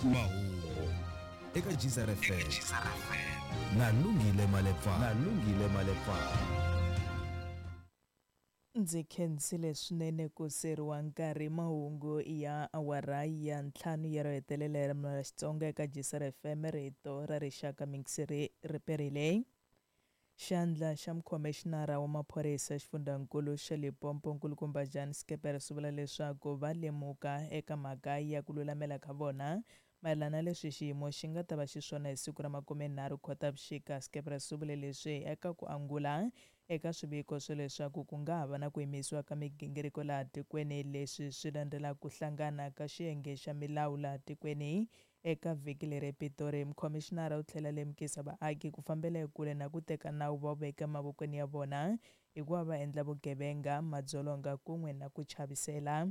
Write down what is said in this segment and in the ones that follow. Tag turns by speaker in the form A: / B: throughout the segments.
A: Mahungu eka Gzar FM na Lungile Malepa. Na Lungile Malepa.
B: Ndzi khensile swinene ku seriwa nkarhi. Mahungu ya awara ya ntlhanu ya ro hetelela ya ririmi ra Xitsonga eka Gzar FM, rito ra rixaka mingiseri ri perile. Xandla xa mukhomixinara wa maphorisa xifundzankulu xa Limpopo nkulukumba Jan Skeepers u vula leswaku va lemuka eka mhaka ya ku lulamela ka vona mayelana na leswi xiyimo xi nga ta va xiswona hi siku ra 30 Khotavuxika. Skeepers u vule leswi eka ku angula eka swiviko swa leswaku ku nga ha va na ku yimisiwa ka migingiriko laha tikweni. Leswi swi landzela ku hlangana ka xiyenge xa milawu laha tikweni eka vhiki leri ePitori. Mukhomixinara u tlhela lemukisa vaaki ku fambela ekule na ku teka nawu va wu veka emavokweni ya vona hikuva va endla vugevenga, madzolonga kun'we na ku chavisela.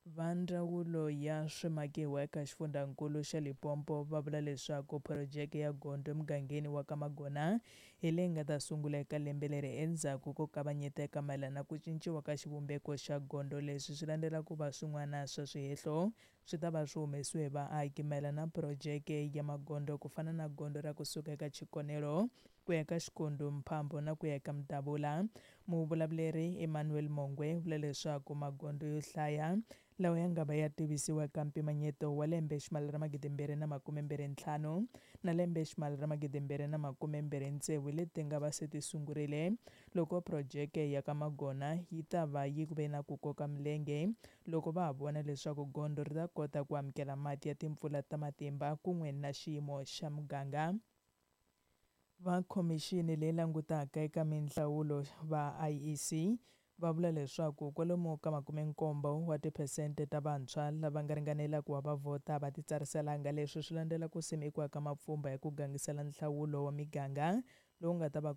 B: Va ndzawulo ya swimakiwa eka xifundzankulu xa Limpopo va vula leswaku phurojeke ya gondzo emugangeni wa ka Magona hi leyi nga ta sungula eka lembe leri endzhaku ko kavanyeteka mayelana na ku cinciwa ka xivumbeko xa gondzo. Leswi swi landzela ku va swin'wana swa swihehlo swi ta va swi humesiwe hi vaaki mayelana na phurojeke ya magondzo ku fana na gondzo ra kusuka eka Tshikonelo ku ya ka Xikundu, Mphambo na ku ya eka Mdavula. Muvulavuleri Emmanuel Mongwe u vula leswaku magondzo yo hlaya lawa ya nga va ya tivisiwa eka mpimanyeto wa lembe ximali ra 2025 na lembe ximali ra 2026 leti nga va se ti sungurile loko phurojeke ya ka Magona yi ta va yi ve na ku koka milenge loko va ha vona leswaku gondzo ri ta kota ku amukela mati ya timpfula ta matimba kun'we na xiyimo xa muganga. Va khomixini leyi langutaka eka minhlawulo va IEC va vula leswaku kwalomu ka 70 wa tiphesente ta vantshwa lava nga ringanela ku va va vhota va titsariselanga. Leswi swi landzela ku simekiwa ka mapfhumba ya ku gangisela nhlawulo wa miganga lowu nga ta va